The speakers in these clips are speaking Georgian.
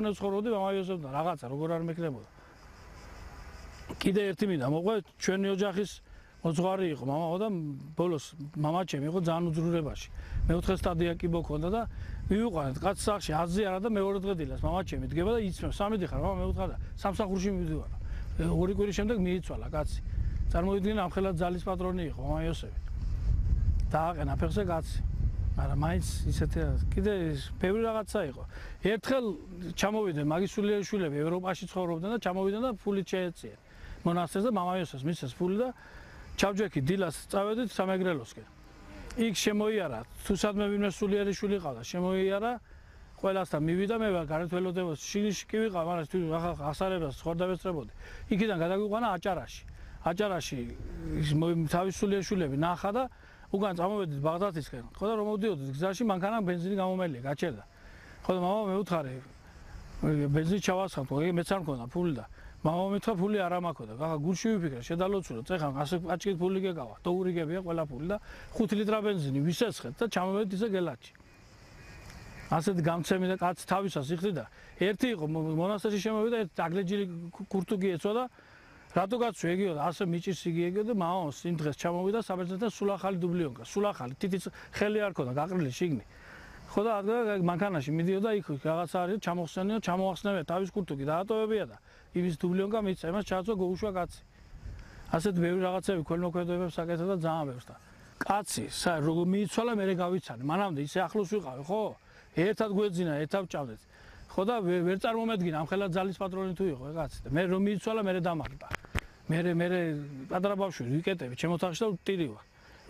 უნდა ცხოვრობდი მამა იოსებთან რაღაცა როგორ არ მექნებოდა. კიდე ერთი მინდა მოყვე ჩვენი ოჯახის მოძღვარი იყო მამაო და ბოლოს მამაჩემი იყო ძალიან უძრულებაში. მეოთხე სტადია კი მქონდა და მივიყვანეთ კაც სახში აზი არა და მეორე დღე დილას მამაჩემი დგება და იცნობს სამედი ხარ მამა მეოთხე და სამსახურში მივდივარ. ორი კვირის შემდეგ მიიცვალა კაცი. წარმოიდგინე ამხელად ძალის პატრონი იყო მამა იოსები. დააყენა ფეხზე კაცი. მაგრამ მაინც ისეთი კიდე ბევრი რაღაცა იყო. ერთხელ ჩამოვიდნენ მაგისულიერი შვილები ევროპაში ცხოვრობდნენ და ჩამოვიდნენ და ფულით შეეწიეს. მონასტერს და მამა იოსებს მისცეს ფული და ჩავჯექი დილას წავედით სამეგრელოსკენ. იქ შემოიარა, თუსადმე ვინმე სულიერი შვილი ყავდა, შემოიარა, ყველასთან მივიდა მე ვარ გარეთ ველოდებოს, შიგნში კი ვიყავ, მაგრამ თუ ახსარებას ხორდა ვესწრებოდი. იქიდან გადაგვიყვანა აჭარაში. აჭარაში თავის სულიერი შვილები ნახა და უკან წამოვედით ბაღდათისკენ. ხო და რომ მოვდიოდით გზაში მანქანა ბენზინი გამომელია, გაჩერდა. ხო და მამა მეუთხარი ბენზინი ჩავასხამთ, მეც არ მქონდა ფული და მამა მითხრა ფული არ ამაქოდა. გახა გულში ვიფიქრე, შედალოცულო, წეხან ასე პაჭკით ფული გეკავა. დოურიგებია ყველა ფული და 5 ლიტრა ბენზინი ვისესხეთ და ჩამოვედით ისე გელათში. ასეთ გამცემი და კაცი თავისას იხდი და ერთი იყო მონასტერში შემოვიდა, ერთი აგლეჯილი კურთუგი ეცვა და რატო კაცო ეგიო და ასე მიჭირს იგი ეგიო და მამა იმ დღეს ჩამოვიდა საბერძნეთთან სულ ახალი დუბლიონკა, სულ ახალი, თითიც ხელი არ ქონდა, გაყრილი შიგნი. ხო და მანქანაში მიდიოდა იქ რაღაცა არის ჩამოხსენიო, ჩამოახსნებია თავის კურთუგი დაატოვებია და იმის დუბლიონკა მიცა, იმას ჩააწვა გოუშვა კაცი. ასეთ ბევრი რაღაცები ქველმოქმედებებს აკეთა და ძალიან ბევრს და კაცი როგორ მიიცვალა მე გავიცანე. მანამდე ისე ახლოს ვიყავი, ხო? ერთად გვეძინა, ერთად ვჭამდეთ. ხო და ვერ წარმომედგინა ამხელა ძალის პატრონი თუ იყო კაცი და მე რომ მიიცვალა მე დამაგდა. მე პატარა ბავშვი ვიკეტები ჩემ ოთახში და ვტირივა.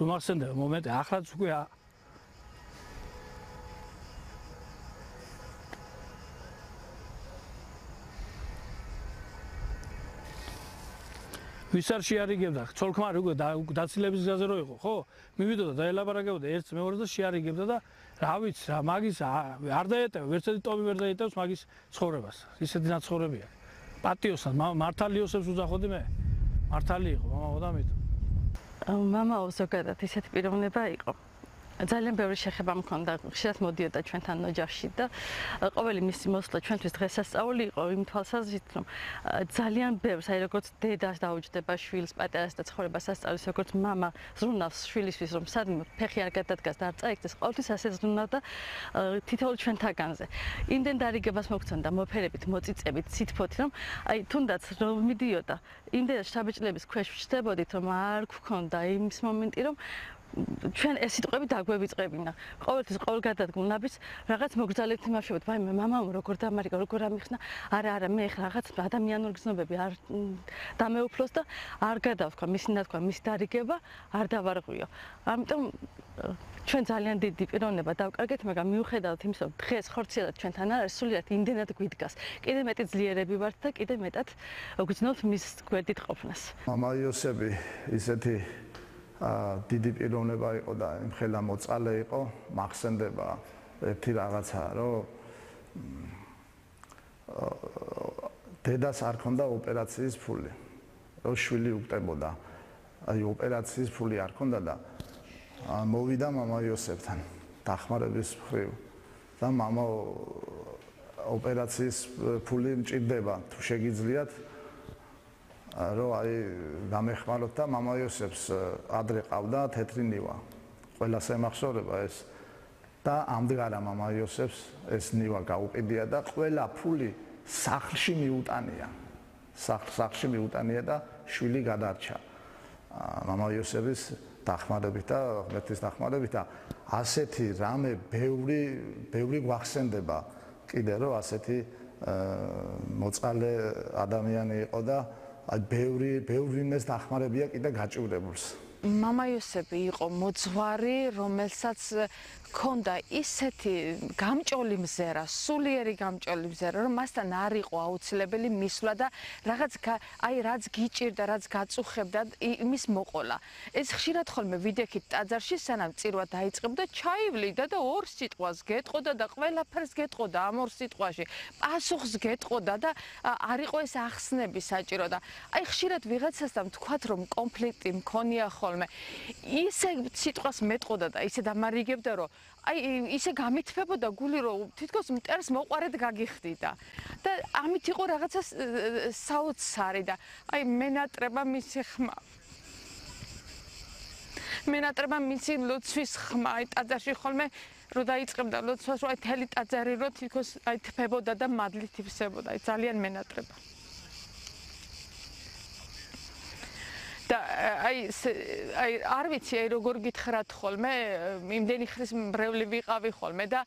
რომ ახსენდება მომენტი ახლაც უკვე ვის არ შეარიგებდა ცოლ-ქმარი უკვე დაცილების გზაზე რო იყო ხო მივიდოდა დაელაპარაკებოდა ერთს მეორეს და შეარიგებდა და რა ვიცი რა მაგის არ დაეტევა ვერცერთი ტომი ვერ დაეტევს მაგის ცხოვრებას ისეთი ნაცხოვრებია პატიოსთან მართალი იოსებს უძახოდი მე მართალი იყო მამაო და მით მამაო ზოგადად ისეთი პიროვნება იყო ძალიან ბევრი შეხება მქონდა ხშირად მოდიოდა ჩვენთან ოჯახში და ყოველი მისი მოსვლა ჩვენთვის დღესასწაული იყო იმ თვალსაზრისით რომ ძალიან ბევრს აი როგორც დედას დაუჯდება შვილს პატარას და ცხოვრებას ასწავლის როგორც მამა ზრუნავს შვილისთვის რომ სადმე ფეხი არ გადადგას და არ წაიქცეს ყოველთვის ასე ზრუნავდა თითოეულ ჩვენთაგანზე იმდენ დარიგებას მოგცემდა მოფერებით მოწიწებით სითფოთ რომ აი თუნდაც რომ მიდიოდა იმდენად შთაბეჭდილების ქვეშ ვჩნდებოდით რომ არ გქონდა იმის მომენტი რომ ჩვენ ეს სიტყვები დაგვევიწყებინა. ყოველთვის ყოველ გადადგმულნაბის რაღაც მოგრძალებთ იმაშობთ, ვაიმე მამამ როგორ დამარიგა, როგორ ამიხსნა. არა, მე ხა რაღაც ადამიანური გზნობები არ დამეუფლოს და არ გადავთქვა მისი ნათქვა, მისი დარიგება არ დავარღვიო. ამიტომ ჩვენ ძალიან დიდი პიროვნება დავკარგეთ, მაგრამ მიუხედავად იმისა, რომ დღეს ხორციელად ჩვენთან არ არის, სულიერად იმდენად გვიდგას. კიდე მეტი ძლიერები ვართ და კიდე მეტად გვგზნობთ მის გვერდით ყოფნას. მამა იოსები ისეთი დიდი პიროვნება იყო და იმხელა მოწყალე იყო, მახსენდება ერთი რაღაცა, რომ დედას არ ქონდა ოპერაციის ფული. რომ შვილი უკტებოდა. აი ოპერაციის ფული არ ქონდა და მოვიდა მამა იოსებთან დახმარების მხრივ და მამა ოპერაციის ფული მჭირდება თუ შეგიძლიათ რომ აი გამეხმაროთ და მამა იოსებს ადრე ყავდა თეთრი ნივა. ყველას ემახსოვრება ეს და ამდღარა მამა იოსებს ეს ნივა გაუყიდია და ყველა ფული სახლში მიუტანია. სახლში მიუტანია და შვილი გადარჩა. მამა იოსების დახმარებით და ღმერთის დახმარებით და ასეთი რამე ბევრი გვახსენდება კიდე რომ ასეთი მოწყალე ადამიანი იყო და აი ბევრი ვინმეს დახმარებია კიდე გაჭირებულს. მამა იოსები იყო მოძღვარი, რომელსაც ქონდა ისეთი გამჭოლი მზერა, სულიერი გამჭოლი მზერა, რომ მასთან არ იყო აუცილებელი მისვლა და რაც გიჭირდა, რაც გაწუხებდა, იმის მოყოლა. ეს ხშირად ხოლმე ვიდექით ტაძარში, სანამ წირვა დაიწყებდა, ჩაივლიდა და ორ სიტყვას გეტყოდა და ყველაფერს გეტყოდა ამ ორ სიტყვაში. პასუხს გეტყოდა და არ იყო ეს ახსნები საჭირო და აი ხშირად ვიღაცასთან ვთქვათ, რომ კონფლიქტი მქონია ხოლმე ხოლმე. ისე სიტყვას მეტყოდა და ისე დამარიგებდა, რომ აი ისე გამithფებოდა გული, რომ თითქოს მტერს მოყარედ გაგიხდიდა. და ამით იყო რაღაცა საოცარი და აი მენატრება მისი ხმა. მენატრება მისი ლოცვის ხმა, აი ტაძარში ხოლმე რო დაიწყებდა ლოცვას, რომ აი თელი ტაძარი რო თითქოს აი თფებოდა და მადლით ივსებოდა, აი ძალიან მენატრება. და აი არ ვიცი აი როგორ გითხრათ ხოლმე, იმდენი ხრის მრევლი ვიყავი ხოლმე და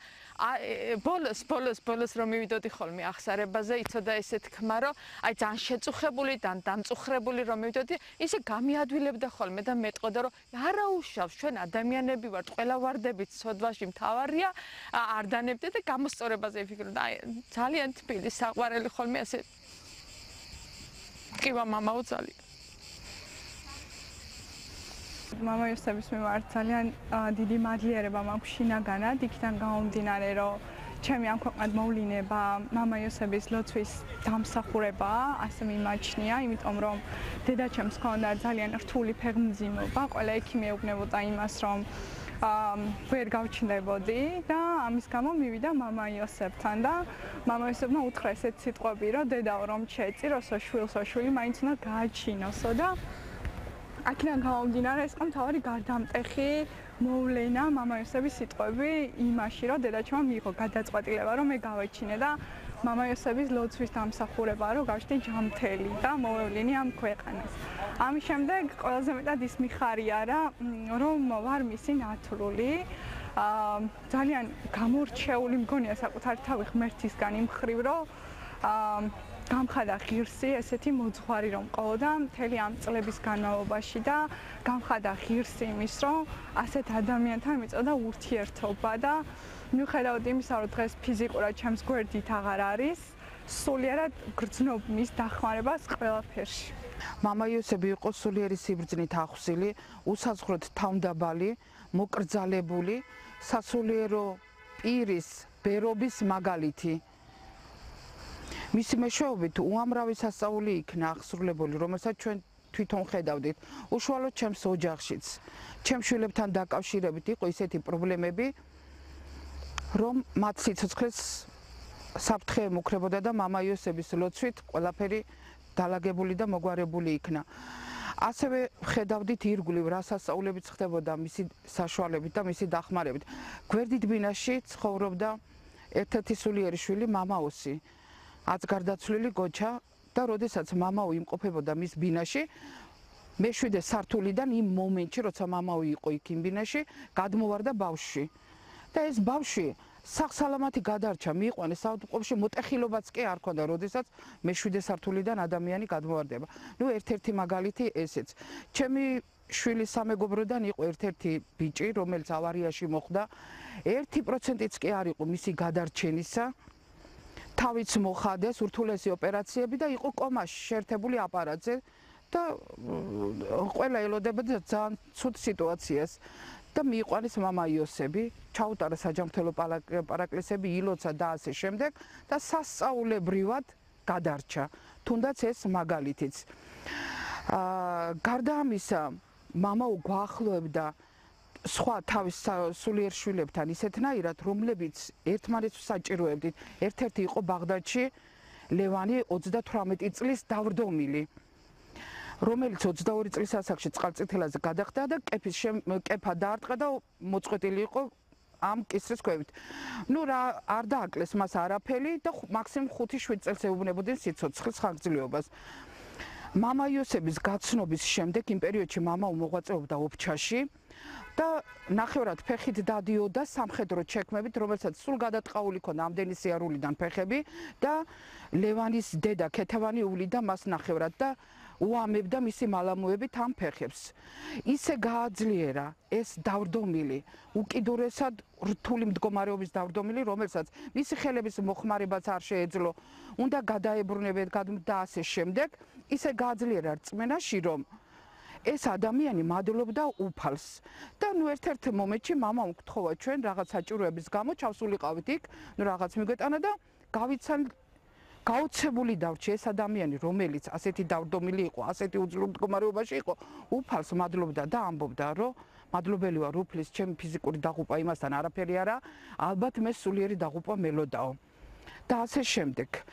ბოლოს რომ მივიდოდი ხოლმე ახსარებაზე, იცოდა ესე თქმა, რომ აი ძალიან შეწუხებული და დამწუხრებული რომ მივიდოდი, ისე გამიადვილებდა ხოლმე და მეტყოდა, რომ არა უშავს, ჩვენ ადამიანები ვართ, ყველა ვარდებით სოდვაში მთავარია, არ დანებდე და გამოსწორებაზე ვიფიქრე. აი ძალიან თბილი საყვარელი ხოლმე ასე კივა მამაო ძალიან. მამა იოსების მიმართ ძალიან დიდი მადლიერება მაქვს შინაგანად, იქიდან გამომდინარე, რომ ჩემი ამ ქვეყნად მოვლინება მამა იოსების ლოცვის დამსახურებაა, ასე მიმაჩნია, იმიტომ რომ დედაჩემს ჰქონდა ძალიან რთული ფეხმძიმობა, ყველა იქი მეუბნებოდა იმას, რომ ვერ გავჩნდებოდი და ამის გამო მივიდა მამა იოსებთან და მამა იოსებმა უთხრა ესეთ სიტყვები, რომ დედაო რომ შეეწიროსო შვილსო, შვილი მაინც უნდა გააჩინოსო და აქედან გამომდინარე ეს იყო მთავარი გარდამტეხი მოვლენა მამა იოსების სიტყვები იმაში, რომ დედაჩემმა მიიღო გადაწყვეტილება, რომ მე გავეჩინე და მამა იოსების ლოცვის დამსახურებაა, რომ გავშდი ჯანმრთელი და მოვევლინე ამ ქვეყანას. ამის შემდეგ ყველაზე მეტად ის მიხარია რა, რომ ვარ მისი ნათლული. ძალიან გამორჩეული მგონია საკუთარი თავი ღმერთისგან იმ მხრივ, რომ გამხადა ღირსი ესეთი მოძღვარი რომ ყავდა მთელი ამ წლების განმავლობაში და გამხადა ღირსი იმის რომ ასეთ ადამიანთან მიწოდა ურთიერთობა და მიუხედავად იმისა რომ დღეს ფიზიკურად ჩემს გვერდით აღარ არის სულიერად გრძნობ მის დახმარებას ყველაფერში. მამა იოსები იყო სულიერი სიბრძნით ახსილი, უსაზღვროდ თავმდაბალი, მოკრძალებული, სასულიერო პირის ბერობის მაგალითი. მისი მეშვეობით უამრავი სასწაული იქნა აღსრულებული, რომელსაც ჩვენ თვითონ ხედავდით. უშუალოდ ჩემს ოჯახშიც, ჩემ შვილებთან დაკავშირებით იყო ისეთი პრობლემები, რომ მათ სიცოცხლეს საფრთხე ემუქრებოდა და მამა იოსების ლოცვით ყველაფერი დალაგებული და მოგვარებული იქნა. ასევე ხედავდით ირგვლივ რა სასწაულებიც ხდებოდა მისი საშუალებით და მისი დახმარებით. გვერდით ბინაში ცხოვრობდა ერთ-ერთი სულიერი შვილი მამაოსი. აც გარდაცვლილი გოჩა და როდესაც მამაო იმყოფებოდა მის ბინაში, მე-7 სართულიდან იმ მომენტში, როცა მამაო იყო იქ იმ ბინაში, გადმოვარდა ბავშვი. და ეს ბავშვი სახსალამათი გადარჩა, მიიყვანეს საავადმყოფოში, მოტეხილობაც კი არ ქონდა, როდესაც მე-7 სართულიდან ადამიანი გადმოვარდება. ნუ ერთ-ერთი მაგალითი ესეც. ჩემი შვილის სამეგობროდან იყო ერთ-ერთი ბიჭი, რომელიც ავარიაში მოხვდა. 1%-იც კი არ იყო მისი გადარჩენისა. თავიც მოხადეს ურთულესი ოპერაციები და იყო კომაში შეერთებული აპარატზე და ყველა ელოდებოდა ძალიან ცუდ სიტუაციას და მიიყვანეს მამა იოსები, ჩაუტარა საჯანმრთელო პარაკლისები, ილოცა და ასე შემდეგ და სასწაულებრივად გადარჩა. თუნდაც ეს მაგალითიც. გარდა ამისა, მამაო გვაახლოებდა სხვა თავის სულიერ შვილებთან ისეთნაირად, რომლებიც ერთმანეთს საჭიროებდით. ერთ-ერთი იყო ბაღდადში ლევანი 38 წლის დავრდომილი, რომელიც 22 წლის ასაკში წყალწითელაზე გადახდა და კეფა დაარტყა და მოწყვეტილი იყო ამ კისრის ქვევით. ნუ რა არ დააკლეს მას არაფერი და მაქსიმუმ 5-7 წელს ეუბნებოდნენ სიცოცხლის ხანგრძლივობას. მამა იოსების გაცნობის შემდეგ იმ პერიოდში მამაო მოღვაწეობდა ოფჩაში და ნახევრად ფეხით დადიოდა სამხედრო ჩექმებით, რომელსაც სულ გადატყაული ქონდა ამდენი სიარულიდან ფეხები და ლევანის დედა ქეთევანი უვლიდა მას ნახევრად და უამებდა მისი მალამუებით ამ ფეხებს. ისე გააძლიერა ეს დავრდომილი, უკიდურესად რთული მდგომარეობის დავრდომილი, რომელსაც მისი ხელების მოხმარებაც არ შეეძლო, უნდა გადაებრუნებათ და ასე შემდეგ, ისე გააძლიერა რწმენაში, რომ ეს ადამიანი მადლობდა უფალს და ნუ ერთ-ერთ მომენტში მამამ გთხოვა ჩვენ რაღაც საჭიროების გამო ჩავსულიყავით იქ, ნუ რაღაც მიგვეტანა და გაოცებული დარჩი ეს ადამიანი, რომელიც ასეთი დავდომილი იყო, ასეთი უძლურ მდგომარეობაში იყო, უფალს მადლობდა და ამბობდა, რომ მადლობელი ვარ უფლის, ჩემი ფიზიკური დაღუპვა იმასთან არაფერი არა, ალბათ მე სულიერი დაღუპვა მელოდაო. და ასე შემდეგ.